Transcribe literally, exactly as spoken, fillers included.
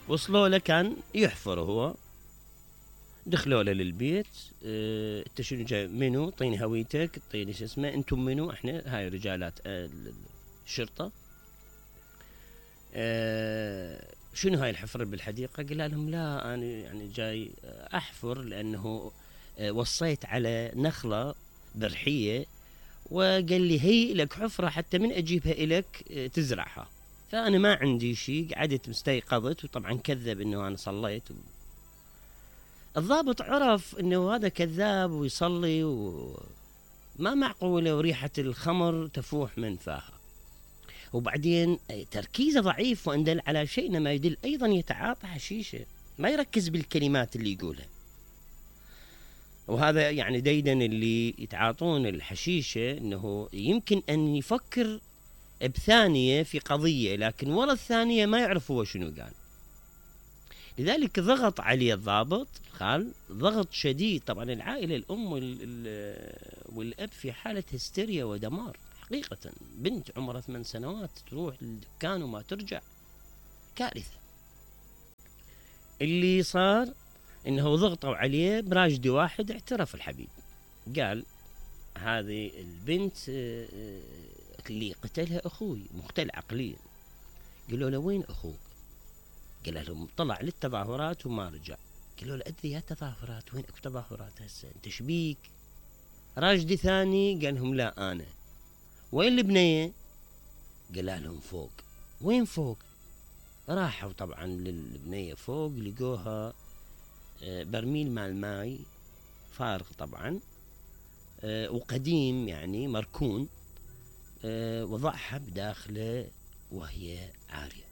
وصلوا له كان يحفر هو. دخلوا له للبيت، اه انت شنو جاي منو؟ اعطيني هويتك، اعطيني شو اسمه، انتم منو؟ احنا هاي رجالات اه الشرطه. اه شنو هاي الحفر بالحديقه؟ قال لهم لا انا يعني جاي احفر لانه اه وصيت على نخله ذرحيه، وقال لي هي لك حفره حتى من اجيبها الك اه تزرعها، فانا ما عندي شيء. قعدت مستيقظت، وطبعا كذب انه انا صليت. الضابط عرف انه هذا كذاب ويصلي وما معقوله، وريحه الخمر تفوح من فاها. وبعدين تركيزه ضعيف وان دل على شيء ما يدل ايضا يتعاطى حشيشه، ما يركز بالكلمات اللي يقولها. وهذا يعني ديدا اللي يتعاطون الحشيشه انه يمكن ان يفكر بثانيه في قضيه، لكن ورا الثانيه ما يعرف هو شنو قال. لذلك ضغط عليه الضابط الخال ضغط شديد. طبعا العائله الام والاب في حاله هستيريا ودمار حقيقه. بنت عمرها ثمان سنوات تروح للدكان وما ترجع، كارثه. اللي صار انه ضغطوا عليه براجدي واحد. اعترف الحبيب، قال هذه البنت اللي قتلها اخوي، مختل عقليا. قالوا له وين اخوك؟ قال لهم طلع للتظاهرات وما رجع. قالوا له ادري يا تظاهرات، وين اكو تظاهرات هسه؟ انت شبيك؟ راجدي ثاني قال لهم لا انا. وين البنيه؟ قال لهم فوق. وين فوق؟ راحوا طبعا للبنيه فوق، لقوها برميل مال ماي فارغ طبعا وقديم يعني مركون، وضعها بداخله وهي عاريه.